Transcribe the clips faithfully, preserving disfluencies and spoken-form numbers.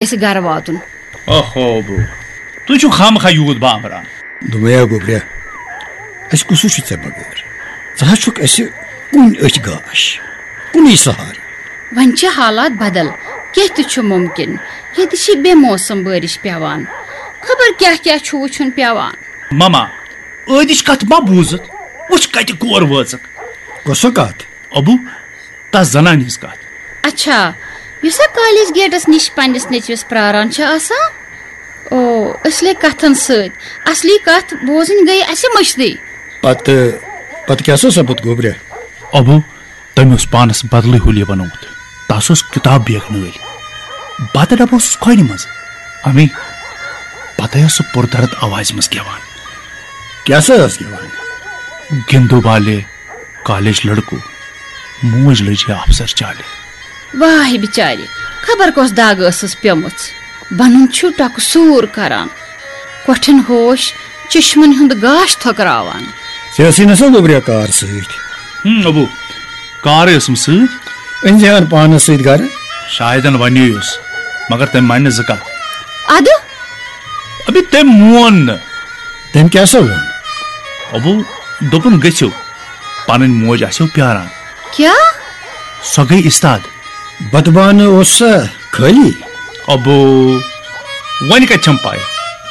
اَسہِ گرٕ واتُن۔ اوہو بو، تُہۍ چھِو خامخا یوٗت بامبران۔ دوٚپمَے ہا گوٚبریا، اَسہِ کُسُے چھُ ژےٚ بغٲر؟ ژٕ حظ چھُکھ اَسہِ کُنہِ أچھ گاش، کُنُے سہارٕ۔ وۄنۍ چھِ حالات بدل، کینٛہہ تہِ چھُ مُمکِن۔ ییٚتہِ چھِ بے موسم بٲرِش پٮ۪وان، خبر کیٛاہ کیٛاہ چھُ وٕچھُن پٮ۪وان۔ مما، ٲدِچ کتھ ما بوٗزُتھ؟ وٕچھ کتہِ کور وٲژٕکھ۔ کۄسہٕ کتھ؟ ابوٗ، تس زنانہِ ہٕنٛز کتھ۔ اچھا، یُس سا کالج گیٹس نِش پننِس نیٚچوِس پراران چھِ آسان؟ او، أسۍ لٔگۍ کتھن سۭتۍ۔ اصلی کتھ بوزٕنۍ گٔے اسہِ مٔشدٕے۔ پتہٕ، پتہٕ کیٛاہ سا سپُد گوٚبرِ؟ ابوٗ، تٔمۍ اوس پانس بدلٕے حُلیہ بنوومُت۔ تس اوس کتاب بیگ نٲلۍ۔ بتہٕ ڈبہٕ اوسُس کھۄنہِ منٛز۔ امی پتہٕ ٲس سُہ پُردرد آوازِ منٛز گٮ۪وان۔ کیٛاہ سا ٲس گٮ۪وان؟ گِندو بالے، کالج لڑکو، موج لٔج ہے افسر چالہِ۔ واے بچارِ، خبر کۄس دگ ٲسٕس پیمٕژ۔ بنُن چھُ ٹۄکہٕ سوٗر کران، کۄٹھٮ۪ن ہوش، چشمن ہُنٛد گاش تھۄکراوان۔ ژےٚ ٲسٕے نہ سا گوٚبریا کار سۭتۍ؟ ہم، ابوٗ، کارٕے ٲسٕم سۭتۍ۔ أنۍ زِہان پانس سۭتۍ گرٕ؟ شاید ونیویوس، مگر تٔمۍ مانہِ نہٕ زٕ کتھ۔ ادٕ؟ ابھی تٔمۍ مون نہٕ۔ تٔمۍ کیٛاہ سا ووٚن؟ ابوٗ، دوٚپُن گٔژھِو، پنٕنۍ موج آسیو پیاران۔ کیٛاہ؟ سۄ گٔے استاد۔ بتہٕ بانہٕ اوس سا خٲلی؟ ابوٗ، وۄنۍ کتہِ چھم پاے؟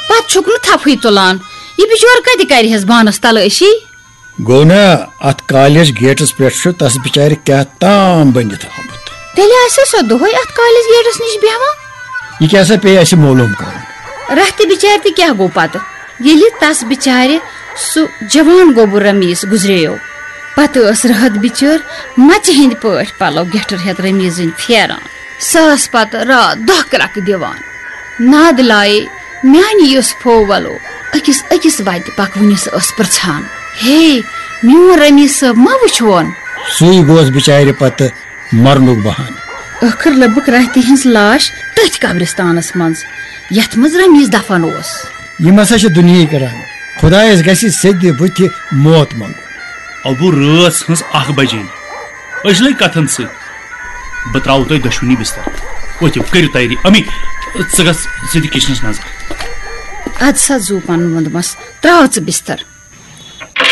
پتہٕ چھُکھ نہٕ تھپھٕے تُلان۔ یہِ بِچور کتہِ کرِہس بانس تلٲشی؟ گوٚو نا، اتھ کالج گیٹس پٮ۪ٹھ چھُ تس بِچارِ کیٛاہ تام بٔنِتھ آمُت۔ تیٚلہِ آسہِ سۄ دۄہے اتھ کالج گیٹس نِش بیہوان۔ یہِ کیٛاہ سا پیٚیہِ اسہِ معلوم کرُن؟ راتھ تہِ بِچارِ تہِ کیٛاہ گوٚو پتہٕ، ییٚلہِ تس بِچارِ سُہ جوان گوٚبُر رمیٖز گُزریو۔ پتہٕ ٲس رٲتھ بِچٲر مژِ ہٕنٛدۍ پٲٹھۍ پلو گیٹھر ہٮ۪تھ رمیٖزٕنۍ پھیران۔ سۄ ٲس پتہٕ راتھ دۄہ کرٛکہٕ دِوان۔ ناد لایے میانہِ یُس پھوو ولو أکِس أکِس وتہِ پکوٕنِس ٲس پرژھان، "ہے، میون رمیٖز صٲب ما وٕچھوون؟" سُے گوس بِچارِ پتہٕ مرنُک بہانہٕ۔ ٲخٕر لٔبٕکھ راتھِ ہٕنٛز لاش تٔتھۍ قبرستانس منٛز، یتھ منٛز رمیٖز دفن اوس۔ یِم ہسا چھِ دُنیہٕکۍ رنگ۔ خۄدایس گژھِ سیٚدِ بُتھِ موت منٛگُن۔ ابوٗ، رٲژ ہٕنٛز اکھ بجے۔ أسۍ لٔگۍ کتھن سۭتۍ۔ بہٕ ترٛاوو تۄہہِ دۄشوٕنی بستر۔ ؤتھِو، کٔرِو تیٲری۔ امی، ژٕ گژھ، ژٕ دِ کچنس نظر۔ اد سا زُو پنُن ووٚندمس، ترٛاو ژٕ بستر۔